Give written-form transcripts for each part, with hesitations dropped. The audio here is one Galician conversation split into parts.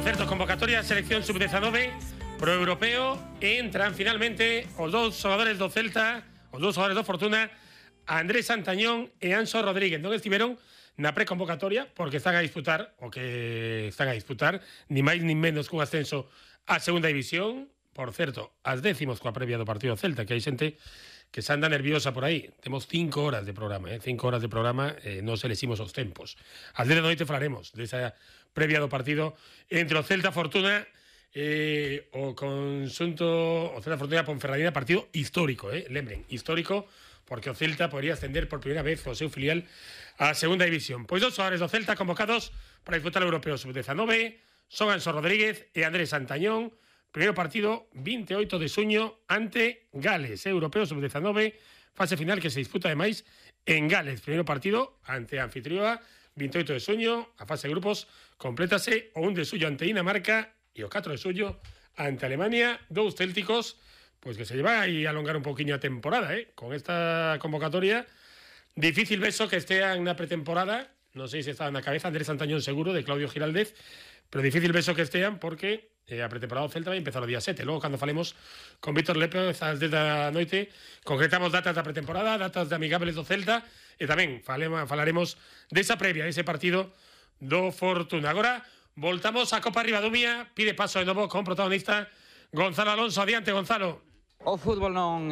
Por certo, convocatoria a selección sub-19 pro europeo entran finalmente os dous xogadores do Celta, os dous xogadores do Fortuna, Andrés Santañón e Anxo Rodríguez. Non estiveron na preconvocatoria porque están a disputar ni máis ni menos cun ascenso a segunda división. Por certo, as décimos coa previa do partido Celta, que hai xente que se anda nerviosa por aí. Temos 5 horas de programa, 5 horas de programa, non se leximos os tempos. As 10 da noite falaremos desa previa do partido entre o Celta Fortuna e o conxunto o Celta Fortuna Ponferradina, partido histórico, lembren, histórico, porque o Celta podría ascender por primeira vez o seu filial á segunda división. Pois dos xogadores do Celta convocados para disputar o Europeo Sub-19 son Anxo Rodríguez e Andrés Santañón. Primeiro partido, 28 de xuño, ante Gales, Europeo Sub-19, fase final que se disputa ademais en Gales. Primeiro partido ante Anfitrioa, 28 de xuño, a fase de grupos complétase o 1 de xuño ante Dinamarca e o 4 de xuño ante Alemania, dous célticos, pois que se lleva aí a alongar un poquinho a temporada, con esta convocatoria. Difícil beso que estean na pretemporada, non sei se estaba na cabeza Andrés Santañón seguro, de Claudio Giraldez, pero difícil beso que estean porque a pretemporada do Celta vai empezar o día 7. Logo, cando falemos con Víctor López ás 10 da noite, concretamos datas da pretemporada, datas de amigables do Celta e tamén falaremos desa previa, dese partido do Fortuna. Agora, voltamos á Copa Ribadumia, pide paso de novo con protagonista Gonzalo Alonso. Adiante, Gonzalo. O fútbol non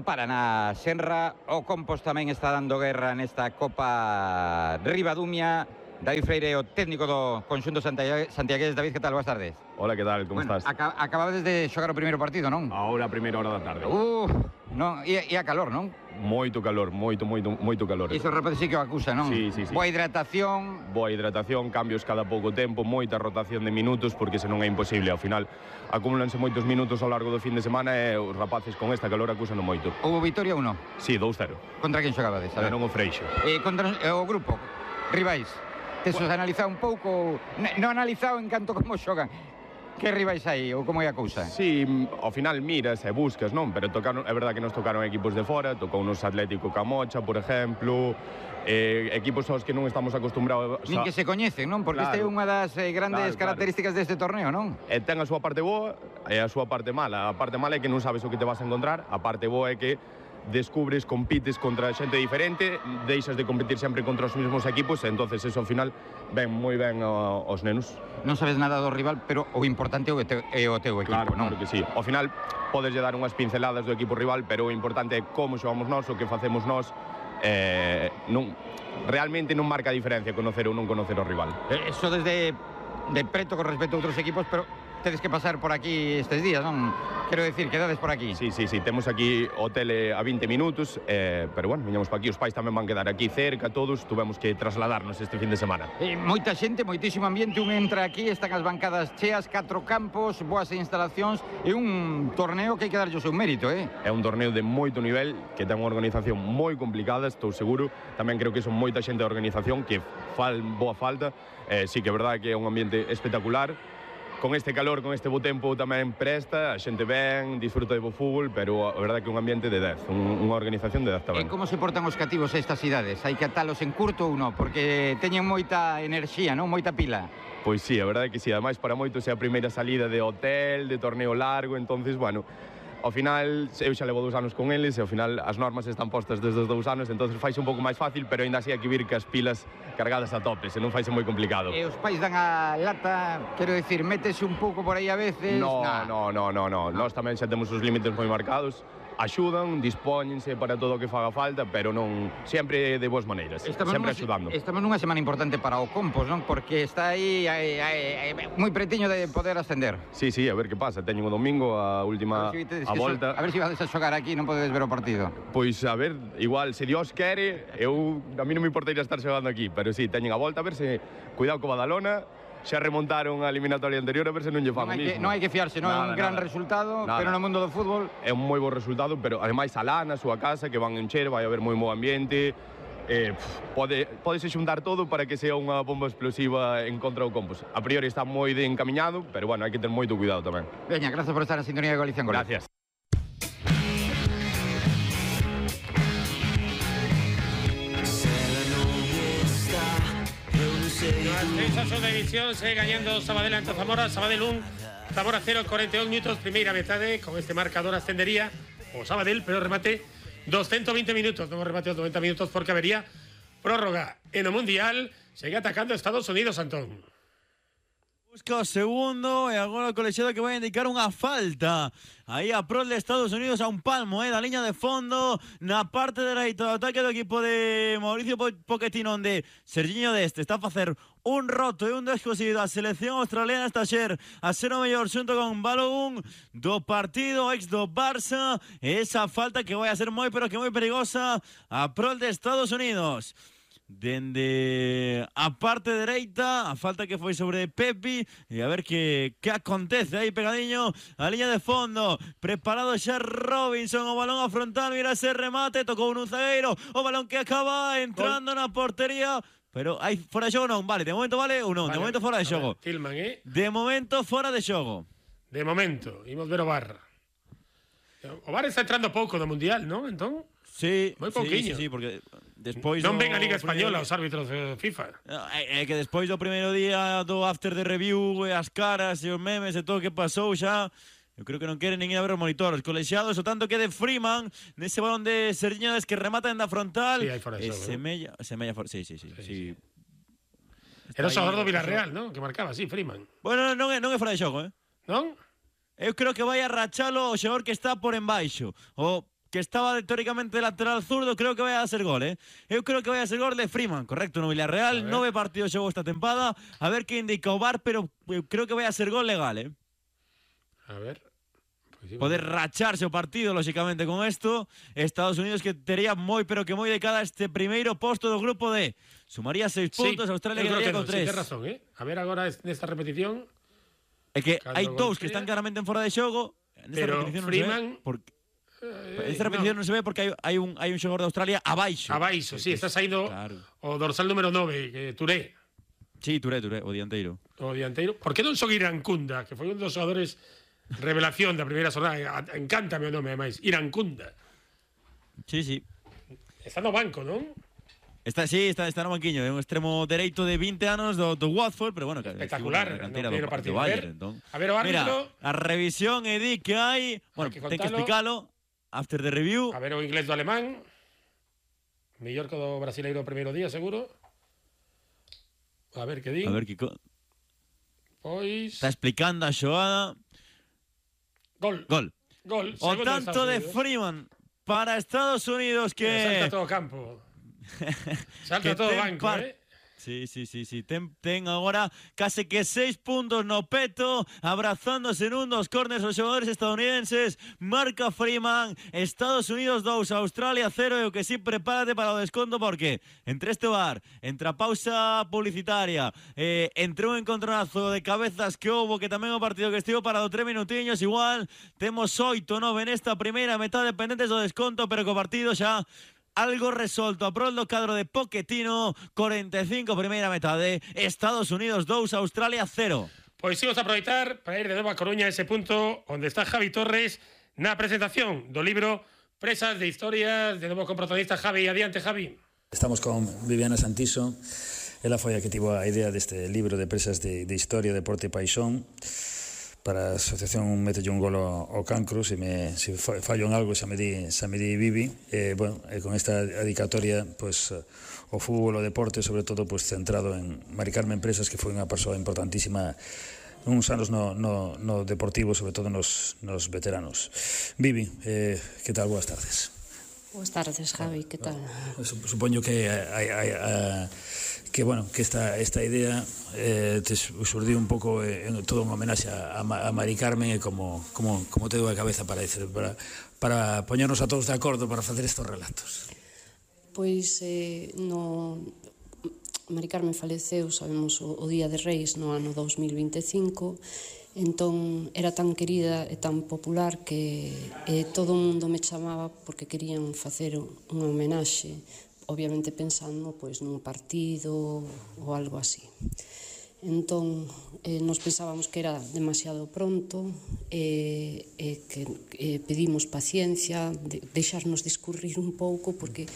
para na Senra, o Compos tamén está dando guerra nesta Copa Ribadumia. David Freire, o técnico do conxunto santiagués. David, que tal? Boas tardes. Hola, que tal? Como estás? Acabades de xogar o primeiro partido, non? Ahora a primeira hora da tarde. Non, e a calor, non? Moito calor, moito calor. Iso repente sí que o acusa, non? Sí. Boa hidratación, cambios cada pouco tempo, moita rotación de minutos, porque senón é imposible. Ao final, acumúlanse moitos minutos ao largo do fin de semana e os rapaces con esta calor acusando moito. Houve vitoria ou non? Sí, 2-0. Contra quen xogabades? Non o Freixo. Contra o grupo, rivais. Tes analizado un pouco, non analizado en canto como xogan. Que rivais aí ou como é a cousa? Sí, ao final miras e buscas, non? Pero é verdad que nos tocaron equipos de fora, tocou nos Atlético Camocha, por exemplo, equipos aos que non estamos acostumbrados. Nin que se coñecen, non? Porque esta é unha das grandes características deste torneo, non? Ten a súa parte boa e a súa parte mala. A parte mala é que non sabes o que te vas a encontrar, a parte boa é que descubres, compites contra xente diferente, deixas de competir sempre contra os mesmos equipos, e entonces eso ao final ven moi ben aos nenos. Non sabes nada do rival, pero o importante é o teu equipo, non? Claro que sí. Ao final podes lle dar unhas pinceladas do equipo rival, pero o importante é como xogamos nós, o que facemos nós. Realmente non marca a diferencia conocer ou non conocer o rival. Eso desde de preto con respecto a outros equipos, pero tedes que pasar por aquí estes días, non? Quero decir, quedades por aquí. Sí, temos aquí hotel a 20 minutos, pero bueno, viñamos para aquí, os pais tamén van quedar aquí cerca, todos, tuvemos que trasladarnos este fin de semana. Moita xente, moitísimo ambiente, un entra aquí, están as bancadas cheas, 4 campos, boas instalacións, e un torneo que hai que darlle o seu mérito, É un torneo de moito nivel, que ten unha organización moi complicada, estou seguro, tamén creo que son moita xente da organización que fan boa falta, sí que é verdade que é un ambiente espectacular. Con este calor, con este bo tempo tamén presta, a xente ben, disfruta de bo fútbol, pero a verdade que un ambiente de 10, unha organización de 10 tamén. E como se portan os cativos a estas cidades? Hai que atalos en curto ou non? Porque teñen moita enerxía, non? Moita pila. Pois sí, a verdade que sí, ademais para moitos é a primeira salida de hotel, de torneo largo, entonces, bueno, ao final, eu xa levo 2 anos con eles e ao final as normas están postas desde os 2 anos, entonces faise un pouco máis fácil, pero ainda así hai que vir que as pilas cargadas a tope, senón faise moi complicado. E os pais dan a lata, quero dicir, métese un pouco por aí a veces? No. Nós tamén xa temos os límites moi marcados, axudan, dispóñense para todo o que faga falta, pero non sempre de boas maneiras, sempre axudando. Estamos nunha semana importante para o Compos, non? Porque está aí moi pretiño de poder ascender. Sí, a ver que pasa, teñen o domingo a última a volta. A ver se vades a xogar aquí, non podedes ver o partido. Pois a ver, igual, se Dios quere, a mí non me importaría estar xogando aquí, pero sí, teñen a volta, a ver se, cuidado co Badalona, xa remontaron a eliminatoria anterior, a ver se non lle fan o mismo. Non hai que fiarse, non é un gran resultado, pero no mundo do fútbol é un moi bo resultado, pero ademais alá na súa casa, que van encher, vai haber moi bo ambiente, podese xuntar todo para que sea unha bomba explosiva en contra do Compos. A priori está moi de encaminhado, pero bueno, hai que ter moito cuidado tamén. Veña, gracias por estar en sintonía de Galicia en Gol. Gracias. Esa segunda división segue gañando Sabadell ante Zamora. Sabadell 1, Zamora 0, 42 minutos, primeira metade. Con este marcador ascendería o Sabadell, pero remate 220 minutos. Non remate 90 minutos porque habería prórroga. En o Mundial segue atacando Estados Unidos, Antón. Busca o segundo e agora o colexiado que vai indicar unha falta aí a prol de Estados Unidos a un palmo da liña de fondo na parte dereita do ataque do equipo de Mauricio Pochettino, onde Sergiño Deste está a facer un roto e un descosido a selección australiana esta xer a ser o mellor xunto con Balogun do partido ex do Barça, e esa falta que vai a ser moi pero que moi perigosa a prol de Estados Unidos. Dende a parte dereita, a falta que foi sobre Pepi, e a ver que acontece aí pegadiño a liña de fondo. Preparado xa Robinson, o balón a frontal, mira ese remate, tocou un zagueiro, o balón que acaba entrando na portería, pero hai fora de xogo non, vale, de momento vale ou non, vale. De momento fora de xogo. Tilman, De momento fora de xogo. De momento, imos ver o VAR. O VAR está entrando pouco do Mundial, non? Entón, sí, moi pouquiño. Sí, porque despois non ven a Liga Española os árbitros de FIFA. É que despois do primeiro día do after de review e as caras e os memes e todo o que pasou xa, eu creo que non queren nin ir a ver os monitores. Colexiados, o tanto que de Freeman nese balón de Sergiño Deste que remata en da frontal. Sí, aí fora de xogo. Semella fora, sí. Era o xogador do Villarreal, non? Que marcaba, sí, Freeman. Bueno, non é fora de xogo, Non? Eu creo que vai a rachalo o xogador que está por embaixo. O que estaba teóricamente lateral zurdo, creo que vai a ser gol, Eu creo que vai a ser gol de Freeman, correcto, no Villarreal, 9 partidos xogou esta tempada, a ver que indica o VAR, pero eu creo que vai a ser gol legal, A ver. Pues sí, poder racharse o partido, lógicamente, con isto. Estados Unidos que tería moi, pero que moi de cada este primeiro posto do grupo D. Sumaría 6 puntos, Australia quedaría con 3. Sí, ten razón, A ver agora nesta repetición. É que hai dous que están claramente en fora de xogo, nesta pero repetición Freeman... non se ve, porque esta repetición non se ve porque hai un xogador de Australia abaixo. Abaixo, sí, está saindo o dorsal número 9, Touré. Sí, Touré, o dianteiro. O dianteiro. Por que non son Irankunda, que foi un dos xogadores revelación da primeira xornada? Encántame o nome, ademais. Irankunda. Sí. Está no banco, non? Está no banquiño, é un extremo dereito de 20 anos do Watford, pero bueno, espectacular, no partido do Bayern, a ver o árbitro. Mira, a revisión e di que hai, bueno, ten que explicalo, after the review. A ver o inglés do alemán. Mellor que o do brasileiro o primeiro día, seguro. A ver que di. A ver que pois está explicando a xogada. Gol. O tanto de Freeman para Estados Unidos que salta todo o campo. Salta todo o banco, Sí. Ten agora case que 6 puntos no peto, abrazándose nun dos córners os xogadores estadounidenses. Marca Freeman, Estados Unidos 2, Australia 0, e o que sí, prepárate para o desconto, porque entre este VAR, entre a pausa publicitaria, entre un encontronazo de cabezas que houbo, que tamén o partido que estivo parado 3 minutiños, igual temos 8-9 nesta primeira metade pendentes do desconto, pero co partido xa algo resolto a prol do cadro de Pochettino. 45 primeira metade, Estados Unidos 2, Australia 0. Pois imos a aproveitar para ir de novo a Coruña, ese punto onde está Javi Torres na presentación do libro Presas de Historias, de novo con protagonista Javi. Adiante, Javi. Estamos con Viviana Santiso. Ela foi a que tivo a idea deste libro de Presas de Historia, Deporte e Paixón. Para a asociación mete un gol ao cancro, se fallo en algo xa me di Vivi. Con esta dedicatoria, pues, o fútbol, o deporte, sobre todo, pues, centrado en Mari Carmen Presas, que foi unha persoa importantísima uns anos no deportivo, sobre todo nos veteranos. Vivi, que tal? Boas tardes. Boas tardes, Javi, que tal? Supoño que esta idea te surdiu un pouco en todo un homenaxe a Mari Carmen, e como te dou a cabeza para poñernos a todos de acordo para facer estes relatos. Pois Mari Carmen faleceu, sabemos, o Día de Reis no ano 2025. Entón era tan querida e tan popular que todo o mundo me chamaba porque querían facer unha homenaxe, obviamente pensando pois nun partido ou algo así. Entón nos pensábamos que era demasiado pronto e que pedimos paciencia, deixarnos discurrir un pouco, porque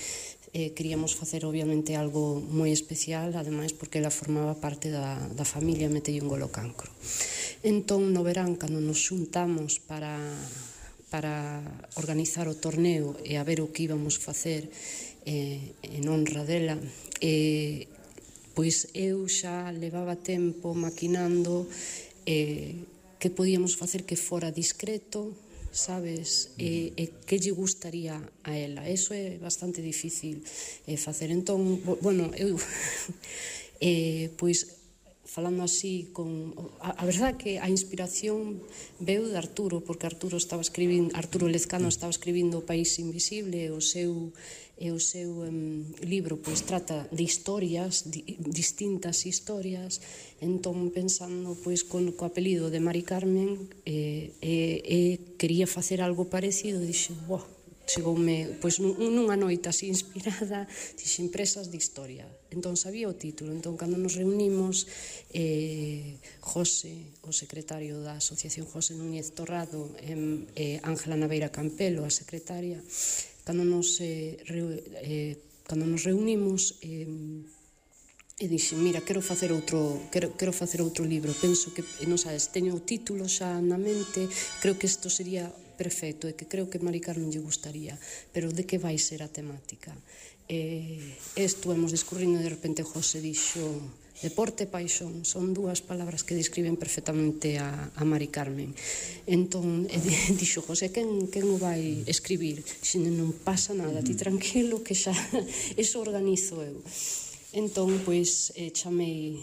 queríamos facer obviamente algo moi especial, ademais porque ela formaba parte da familia Metelle un gol ao cancro. Entón, no verán, cando nos xuntamos para organizar o torneo e a ver o que íbamos facer en honra dela, pois eu xa levaba tempo maquinando que podíamos facer que fora discreto, sabes, e que lle gustaría a ela. Eso é bastante difícil facer. Entón, bueno, eu pois falando así a verdade que a inspiración veu de Arturo, porque Arturo Lezcano estaba escribindo O País Invisible, e o seu libro pois trata de historias, distintas historias. Entón, pensando pois co apelido de Mari Carmen, quería facer algo parecido, dixen, chegoume pois nunha noite así inspirada, dixen Presas de Historia. Entón sabía o título. Entón, cando nos reunimos, José, o secretario da Asociación José Núñez Torrado, e Ángela Naveira Campelo, a secretaria, cando nos reunimos, e dixen, mira, quero facer outro libro, penso que, non sabes, teño o título xa na mente, creo que isto sería perfecto, e que creo que Mari Carmen lle gustaría, pero de que vai ser a temática? Estuvemos discurrindo e de repente José dixo, deporte e paixón, son dúas palabras que describen perfectamente a Mari Carmen. Entón, dixo José, quen o vai escribir? Dixen, non pasa nada, ti tranquilo, que xa eso organizo eu. Entón, pois, chamei